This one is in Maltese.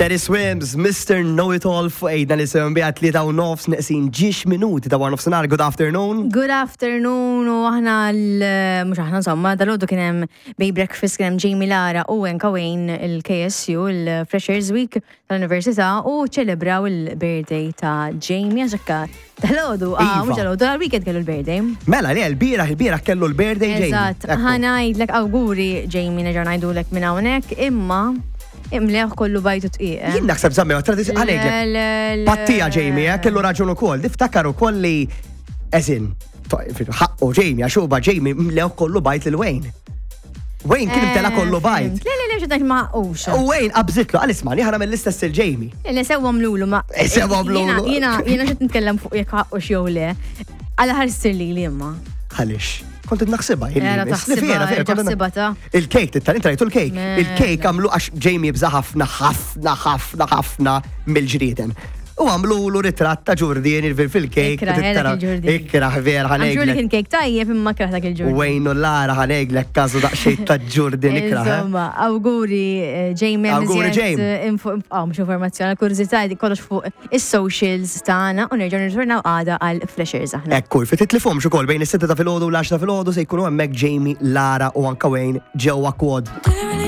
Teddy Swims, Mr. Know It All fuq ejda li sewem bija 3 u nofs neqsin ġiex minuti ta' war nofsinhar. Good afternoon. Good afternoon u aħna mhux aħna insomma, dalgħodu kien hemm Bay Breakfast, kien hemm Jamie Lara u anka Wayne il-KSU, il-Freshers Week tal-Università, u ċelebraw il-birthday ta' Jamie għaxekka dalgħodu, ah, Iva. mhux dalgħodu, dal-weekend kellu l-birthday. Mela li l-bieraħ kellu l-birthday Jamie. Eżatt, Ekku. ħa ngħidlek awguri Jamie, nerġgħu ngħidulek minn hawnhekk, imma imleħ kollu bajtu tqiq, eh. Jien naħseb zammi, tradizjoni għalek. Pattija Jamie, kellu raġun ukoll. Niftakar ukoll li eżin, ħaqqu Jamie, għax huwa Jamie mlew kollu bajt lil Wayne. Wayne kien imtela kollu bajt. Le, le, le, ġedak ma ux. U Wayne qabżitlu, għal isma' ħana mill-istess il-Jamie. Le, sewwa mlulu ma. Sewwa mlulu. Jiena xed nitkellem fuq jekk ħaqqu jew le. Għala ħarsir li li imma. Għalix, kont naħsibha. Era taħsibha, taħsibha ta' Il-kejk, tittal inti rajtu l-kejk. Mela. Il-kejk għamlu għax Jamie jibża ħafna, ħafna, ħafna, ħafna mill-ġrieden. U għamlu l ritratt ta' ġurdien fil-kejk. Ikrah, era il-ġurdien. Ikrah, vera, Għamxu li ħa ngħidlek. kien kejk tajjeb imma kraħ dak il-ġurdien. Wayne u Lara ħa ngħidlek każu daqsxejn ta' ġurdien ikrah, eh. Insomma, awguri Jamie. Awguri, miżjed, Jamie. Mhux informazzjoni, kurżità di kollox fuq is-socials tagħna u nerġgħu nirritornaw għada għal Flashers aħna. Ekku, fi titlifhomx ukoll bejn is-6 ta' filgħodu u l-10 ta' filgħodu se jkunu hemmhekk Jamie, Lara u anka Wayne ġewwa Quad.